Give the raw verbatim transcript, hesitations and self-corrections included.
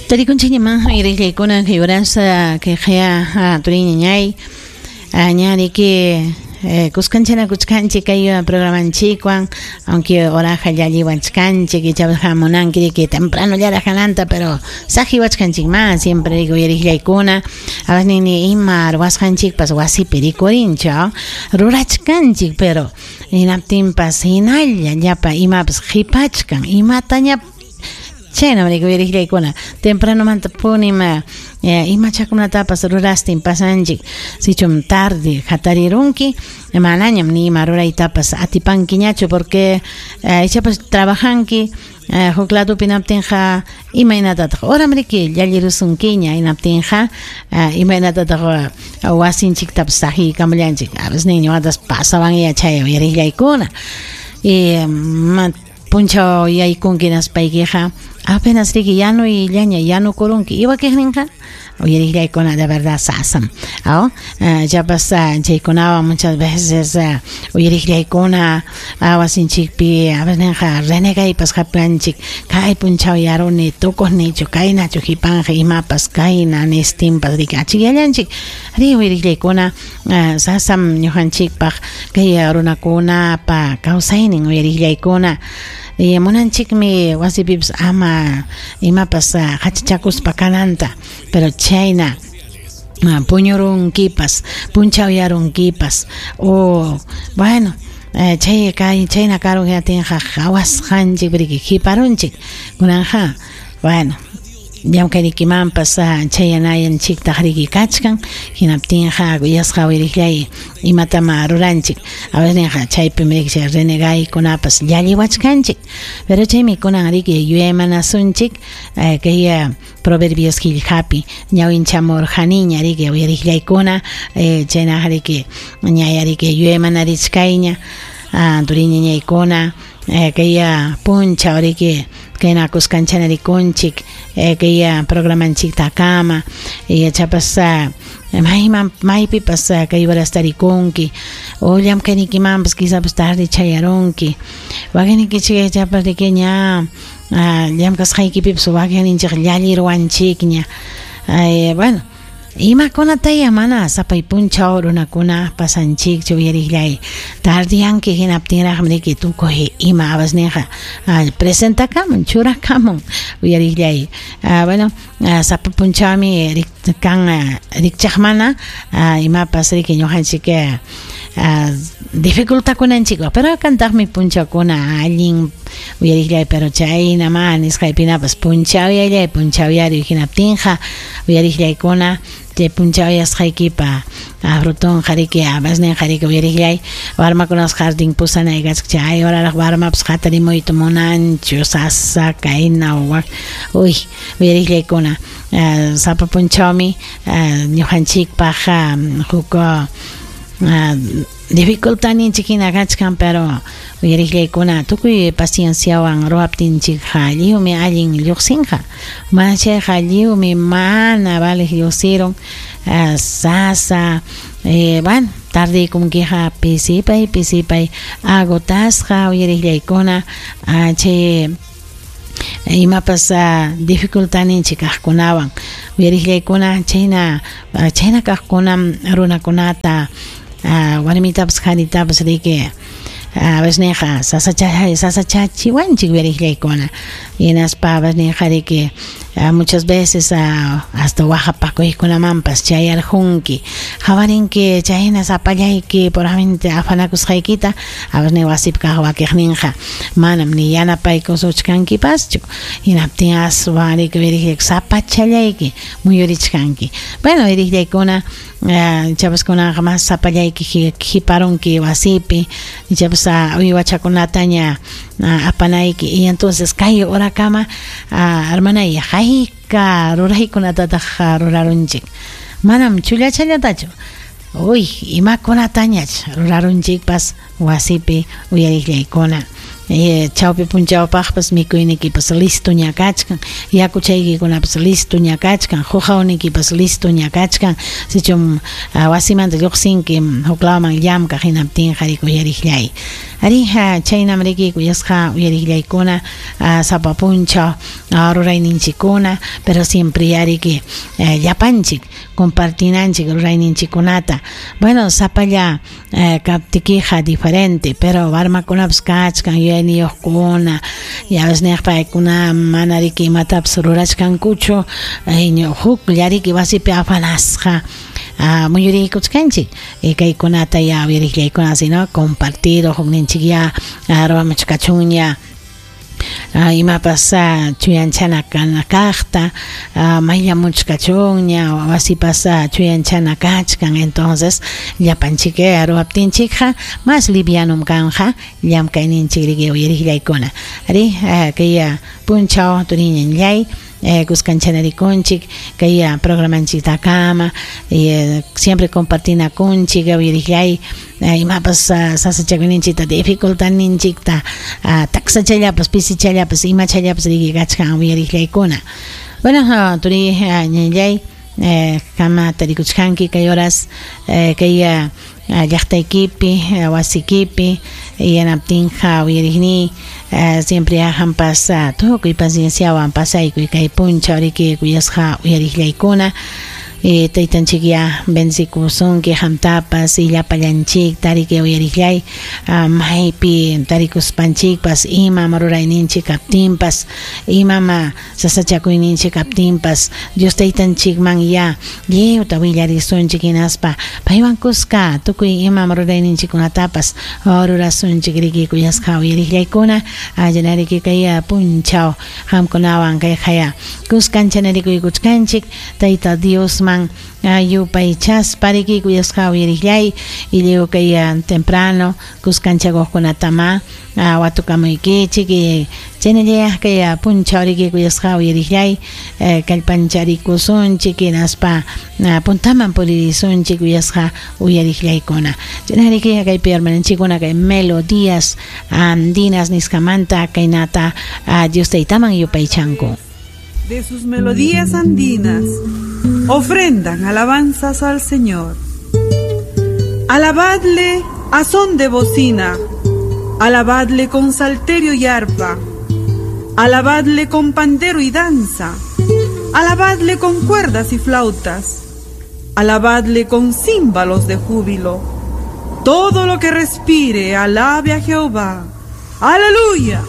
Tarikunchikñaman uyariqllaykuna kay urasa kay qaya turiñañay ñariki kuskanchanakuchkanchik kay programanchikwan, aunque oraja llalliwachkanchik ichapas hamunanki riki temprano llaraq kananta, pero saqiwachkanchikman siempre riki uyariqllaykuna a veces nini ima ruwasqanchikpas wasipi rikurinchu rurachkanchik, pero hinaptinpas hinalla llapa imapas qhipachkan imataña chayna riki uyariqllaykuna tempranomanta punim imachakunatapas rurastin pasanchik, sichum tarde hatarirunki manañam ni ima ruraytapas atipankiñachu porque ichapas trabajanki huk ladopi hinaptinqa imaynatataq horam riki llallirusunkiña hinaptinqa imaynatataq wasinchiktapas saqiykamullanchik a veces niñuwatas pasawanya chay uyariqllaykuna y punchaw yaykunki hinaspaykiqa apenas riki yanuyllaña yanukurunki iwakiqninqa uyariqllaykuna de verdad sasam aw chapas chaykunawan muchas veces uyariqllaykuna wasinchikpi a veces ninqa renegaypas hapiwanchik kay punchaw yaruni tukuqnichu kaynachu qhipanja imapas kayna nistinpas riki achikyallanchik ri uyariqllaykuna sasam ñuqanchikpaq kay runakunapa kawsaynin uyariqllaykuna y munanchikmi wasipipas ama imapas hachachakuspa kananta, pero chayna puñurunkipas punchawyanunkipas o bueno chay kay chayna karun hinatinqa qhawasqanchik riki qhiparunchik kunanja bueno llamkaynikimanpas chayanayanchiktaq riki kachkan hinaptinqa kuyasqa uyariqllay imatama ruranchik a veces ninqa chaypim riki chay renegaykunapas llalliwachkanchik, pero chaymi kunan riki yuyaymanasunchik kay Proverbios qillqapi ñawinchamurqaniña riki uyariqllaykuna chaynaqa riki ñaya riki yuyaymanarichkayña turiñañaykuna kay punchaw riki kayna kuskanchana rikunchik kay programanchiktakama yachapas mayman maypipas kay horasta rikunki o llamkaynikimanpas quizás tarde chayarunki wakinnikichik yachapas riki ña llamkasqaykipipas wakinninchik llalliruwanchikña bueno imakunataya mana sapay punchaw runakuna pasanchikchu uyariqllay tardiyanki hinaptinraqmi riki tukuy ima awas ninqa presentakamun churakamun uyariqllay bueno sapa punchawmi kan rikchaqmana imapas riki ñuqanchik dificultakunanchikpaq, pero kantaqmi punchawkuna allin uyariqllay pero chayna ma nisqaypinapas punchawyallay punchawyariy hinaptinqa uyariqllaykuna chay punchawyasqaykipa frutonqa riki awas ninqa riki uyariqllay warmakunapas jardín pusanay kachka chay horaraq warmapas hatarimuyta munanchu sasa kayna wak uy uyariqllaykuna sapa punchawmi ñuqanchikpaq huk dificultadninchik hina kachkan, pero uyariqllaykuna tukuy pacienciawan ruwaptinchikqa lliwmi allin lluqsinqa mana chayqa lliwmi mana valeq lluqsirun sasa bueno tardiykunkiqa pisipay pisipay agotasqa uyariqllaykuna chay imapas dificultadninchik kaqkunawan uyariqllaykuna chayna chayna kaqkunam runakunata warmitapas qharitapas riki a veces ninqa sasachachiwanchik uyariqllaykuna hinaspa a veces ninqa riki muchas veces hasta waqapakuykunamanpas chayarqunki qhawarinki chayna sapallayki puramente afanakusqaykita a veces wasipi kaq wakiqninqa manam ni yanapaykusuchkankipaschu hinaptin aswan riki uyariqllayku sapachallayki muyurichkanki bueno uyariqllaykuna ichapas kunanqa mas sapallayki qhiparunki wasipi ichapas uywachakunataña apanayki y entonces kay horakama hermanay hayka ruraykunatataq rurarunchik manam chullachallatachu uy imakunatañach rurarunchikpas wasipi uyariqllaykuna eh, chawpi punchawpaqpas mikuynikipas listo ña kachkan, yakuchaykikunapas listo ña kachkan, huqawnikipas listo ña kachkan. Sichum uh, wasimanta lluqsinki huklawman llamkaq hinaptinqa riki uyariqllay. Arija chaynam riki kuyasqa uyariqllaykuna uh, sapa punchaw uh, rurayninchikkuna, pero siempre yariki uh, llapanchik compartinanchik rurayninchikkunata. Bueno, sapalla uh, kaptikiqa diferente, pero warmakunapas kachkan yuyayniyuqkuna, ya ves niq paykuna mana riki imatapas rurachkankuchu, huklla riki wasipi afanasqa uh, muyuriykuchkanchik. Y kaykunata ya uyariqllaykuna sino compartido hukninchik ya uh, ruwamuchkachunña Uh, imapas uh, chuyanchana kana kaqta, uh, mayllamuchkachunña wasipas uh, chuyanchana kachkan. Entonces llapanchik ruwaptinchikqa mas livianum kanja llamkayninchik riki uyariqllaykuna. Ari uh, kay uh, punchaw turiñanllay eh, kuskanchanarikunchik kay uh, programanchiktakama eh, siempre compartinakunchik uyariqllay eh, imapas uh, sasachakuyninchikta dificultadninchikta uh, taksachallapas pisichallapas imachallapas riki kachkan uyariqllaykuna. Bueno, uh, turi uh, ñanllay eh, kama tarikuchkanki kay horas eh, kay uh, llaqtaykipi uh, wasikipi yanaptinqa uyariqniy uh, siempre ahampas uh, tukuy pacienciawan pasaykuy kay punchaw riki kuyasqa uyariqllaykuna. Eh, taytanchik ya bendicikusunki qamtapas y llapallanchikta riki uyariqllay uh, maypi tarikuspanchikpas imam rurayninchik kaptinpas imam sasachakuyninchik kaptinpas Dios taytanchikman ya lliwta willarisunchik hinaspa paywan kuska tukuy imam rurayninchikkunatapas rurasunchik riki kuyasqa uyariqllaykuna. Allanariki kay punchaw qamkunawan kay qaya kuskanchanarikuykuchkanchik Tayta Dios man yupaychaspa riki kuyasqa uyariqllay y lliw kay temprano kuskanchakuqkunatama watukamuykichik y chaynallayaq kay punchaw riki kuyasqa uyariqllay kallpancharikusunchik hinaspa puntaman puririsunchik kuyasqa uyariqllaykuna. Chaynariki kaypi hermananchikkuna kay melodías andinas nisqamanta kaynata Dios taytaman yupaychanku. De sus melodías andinas ofrendan alabanzas al Señor. Alabadle a son de bocina, alabadle con salterio y arpa, alabadle con pandero y danza, alabadle con cuerdas y flautas, alabadle con címbalos de júbilo. Todo lo que respire, alabe a Jehová. ¡Aleluya!